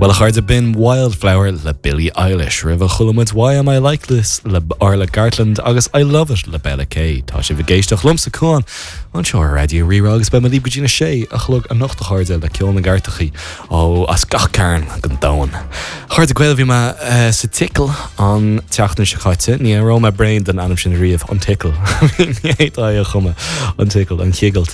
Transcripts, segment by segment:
Bhuel a chairde, b'in Wildflower le Billie Eilish. Roimhe chuala muid Why Am I Like This le Orla Gartland agus I Love It le Bella K. Tá sibh ag éisteacht liomsa, Cuán, anseo ar Raidió Rí-Rá agus beidh mé libh go dtí na sé a chlog anocht a chairde le ceol na gcairteachaí ó as gach cearn den domhan. A chairde Gael, bhí mé sa tSicil an tseachtain seo caite. Ní raibh mé bréan den ainm sin riamh, an tSicil. Ní fhéadfá é a chumadh, an tSicil, an chigilt.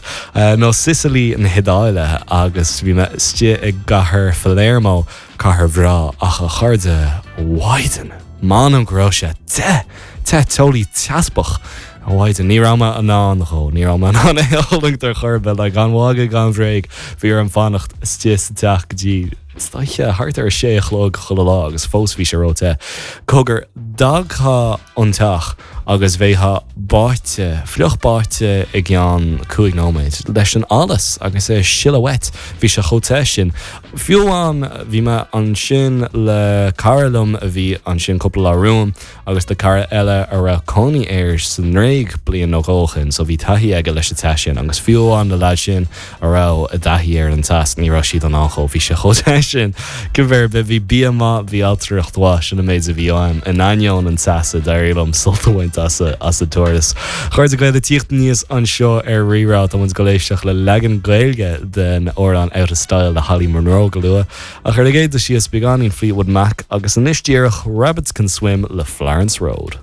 Nó Sicily na hIodáile agus bhí mé istigh i gcathair Phalermo, cathair bhreá, ach a chairde, mhaighdean, m'anam go raibh sé te! Te, teolaí teaspach! A mhaighdean, ní raibh mé in ann dhó, ní raibh mé in ann é a fhulaingt ar chor ar bith, like, gan mhagadh gan bhréig, bhí orm fanacht istigh sa teach go dtí, is dóiche, thart ar a sé a chlog chuile lá agus fós bhí sé ró-te. Cogar, d'fhágfá an teach agus bheifeá báite, fliuch báite i gceann 5 nóiméad, leis an allas agus é ag sileadh uait, bhí sé chomh te sin. Fiú amháin, bhí mé ansin le cara liom a bhí ansin cúpla lá romham agus le cara eile a raibh cónaí air sa nGréig bliain nó dhó ó shin, so bhí taithí aige leis an teas sin agus fiú amháin na leaids sin, a raibh i dtaithí ar an teas, ní raibh siad in ann dhó, bhí sé chomh te sin. Cibé ar bith, bhí bia maith, bhí ailtireacht mhaith, sin an méid a bhí uaim. In ainneoin an teasa, d'éirigh liom sult a bhaint as an turas. A chairde Gael, ag tíocht aníos anseo ar Rí-Rá, tá muid ag dul éisteacht le leagan Gaeilge den amhrán Out of Style le Holly Monroe go luath. Ach ar an gcéad dul síos, beagáinín Fleetwood Mac agus anois díreach, Rabbits Can Swim le Florence Road.